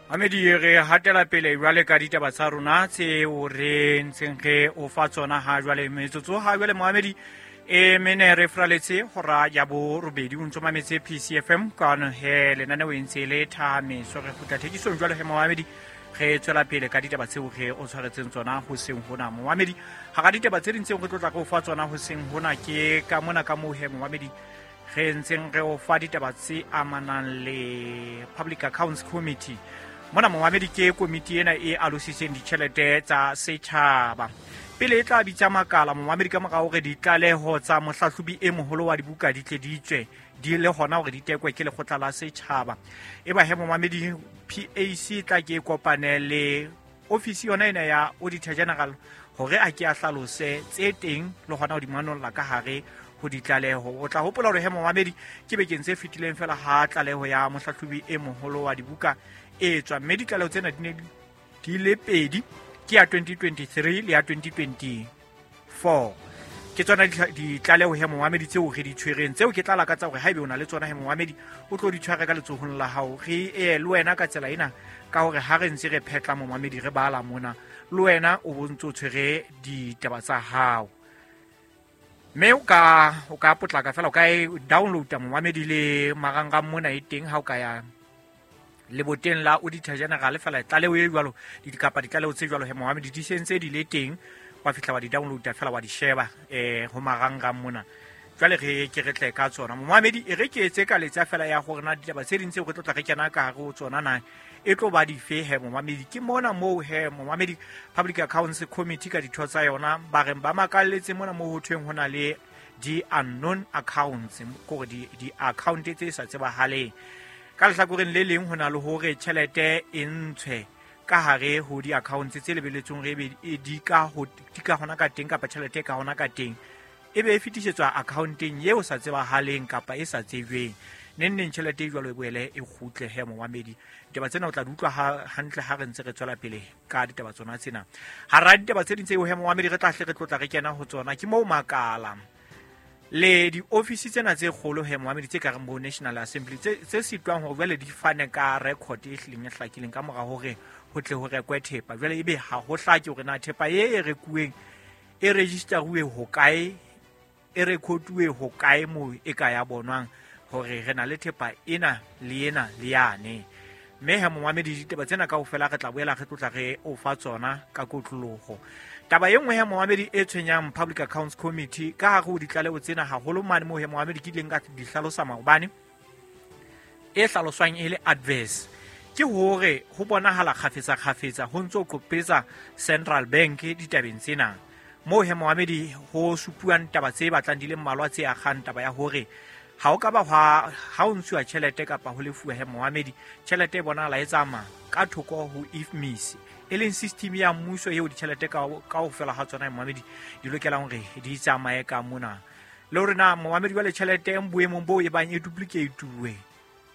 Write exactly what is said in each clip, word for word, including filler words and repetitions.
Mamedi, re hatela pele jwale ka ditaba tsa rona tseo re ntseng re o fa tsona ha jwale. Metsotso ha jwale Mohamedi e mene re fraletse hora ya borobedi, o ntso mametse P C F M kwano he lenaneo e ntse le thahameso. Re kgutla thekisong jwale he Mohamedi, re tswela pele ka ditaba tseo re o tshwaretseng tsona hoseng hona. Mohamedi, hara ditaba tse ding tseo re tlotla ka o fa tsona hoseng hona ke ka mona ka moo he Mohamedi re ntseng re o fa ditaba tse amanang le Public Accounts Committee. Mona Mohamedi ke komiti ena e alositseng ditjhelete tsa setjhaba. Pele e tla bitsa makala Mohamedi ka mora hore ditlaleho tsa mohlahlobi e moholo wa dibuka di tle di tswe di le hona hore di tekwe ke lekgotla la setjhaba. Eba he Mohamedi P A C tla ke kopane le ofisi yona ena ya Auditor General hore a ke a hlalose tse teng le hona ho di manolla ka hare ho ditlaleho. O tla hopola hore he Mohamedi ke bekeng tse fetileng fela ha tlaleho ya mohlahlobi e moholo wa dibuka e tswa, mme ditlaleho tsena di ne di le pedi, ke ya twenty twenty-three le ya twenty twenty-four. Ke tsona ditlaleho he Mohamedi tseo re di tshwereng, tseo ke tla lakatsa hore haebe o na le tsona he Mohamedi o tlo di tshware ka letsohong la hao. Re e le wena ka tsela ena ka hore ha re ntse re phetla Mohamedi re bala mona, le wena o bo ntso tshwere ditaba tsa hao. Mme o ka o ka potlaka fela o ka e download-a Mohamedi le marangrang mona e teng ha o ka ya leboteng la Auditor General fela tlaleho e jwalo dikapa ditlaleho tse jwalo he Mohamedi di sentse di le teng, wa fihla wa di download-a fela wa di sheba eh ho marangrang mona. Jwale re ke re tle ka tsona Mohamedi, e re ke etse ka letsa fela ya hore na ditaba tse ding tseo re tlo tla re kena ka hare ho tsona na e tlo ba dife he Mohamedi. Ke mona moo he Mohamedi Public Accounts Committee ka ditho tsa yona ba reng ba makalletse mona moo ho thweng ho na le di unknown accounts, kore di di account tse sa tsebahaleng. Ka lehlakoreng le leng ho na le hore tjhelete e ntshwe ka hare ho di-accounts tse lebeletsweng re ebe di ka ho di ka hona ka teng kapa tjhelete e ka hona ka teng e be e fetisetswa accounteng eo sa tsebahaleng kapa e sa tsejweng. Neng neng tjhelete e jwalo e boele e kgutle he Mohamedi. Ditaba tsena o tla di utlwa hantle ha re ntse re tswela pele ka ditaba tsona tsena. Hara ditaba tse ding tseo he Mohamedi re tla hle re tlotla re kena ho tsona ke moo makala le di-office tsena tse kgolo he Mohamedi tse ka reng bo National Assembly tse tse sitwang hore jwale di fane ka record e hlileng e hlakileng ka mora hore ho tle ho rekwe thepa. Jwale ebe ha ho hlake hore na thepa e e rekuweng e registeruwe hokae, e rekotuwe hokae moo e ka ya bonwang hore re na le thepa ena le ena le yane. Mme he Mohamedi ditaba tsena kaofela re tla boela re tlotla re o fa tsona ka kotloloho. Taba e nngwe he Mohamedi e tshwenyang Public Accounts Committee ka hare ho ditlaleho tsena haholo mane moo he Mohamedi ke ileng ka di hlalosa maobane, e hlaloswang e le adverse, ke hore ho bonahala kgafetsa kgafetsa ho ntso qopetsa Central Bank ditabeng tsena. Moo he Mohamedi ho supuwang taba tse batlang di le mmalwa tse akgang taba ya hore ha o ka ba ha ha o ntshuwa tjhelete kapa ho lefuwa he Mohamedi, tjhelete e bonahala e tsamaya ka thoko ho I F M I S, e leng system ya mmuso eo ditjhelete ka kaofela ha tsona Mohamedi di lokelang hore di tsamaye ka mona. Le hore na Mohamedi jwale tjhelete e boemong boo e bang e duplicate-uwe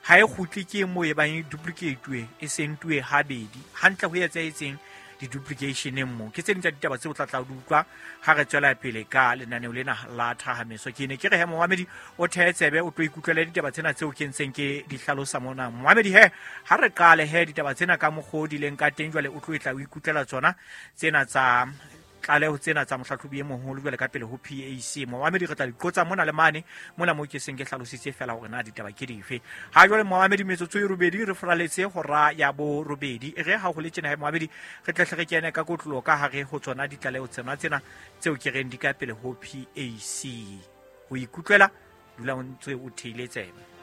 ha e kgutle ke moo e bang e duplicate-uwe e sentuwe habedi hantle ho etsahetseng di-duplication mo. Ke tse ding tsa ditaba tseo tla tla di utlwa ha re tswela pele ka lenaneo lena la thahameso. Ke ne ke re he Mohamedi o thehe tsebe o tlo ikutlwele ditaba tsena tseo ke ntseng ke di hlalosa mona. Mohamedi he ha re qale he ditaba tsena ka mokgwa o di leng ka teng jwale o tlo e tla o ikutlwela tsona tsena tsa tlaleho tsena tsa mohlahlobi e moholo jwale ka pele ho P A C. Mohamedi re tla di qotsa mona le mane mona moo ke seng ke hlalositse fela hore na ditaba ke dife. Ha jwale Mohamedi metsotso e robedi re fraletse hora ya borobedi. E re ha ho le tjena he Mohamedi re tle re kene ka kotlolo ka hare ho tsona ditlaleho tsena tsena tseo ke reng di ka pele ho P A C. Ho ikutlwela dula o ntse o theile tsebe.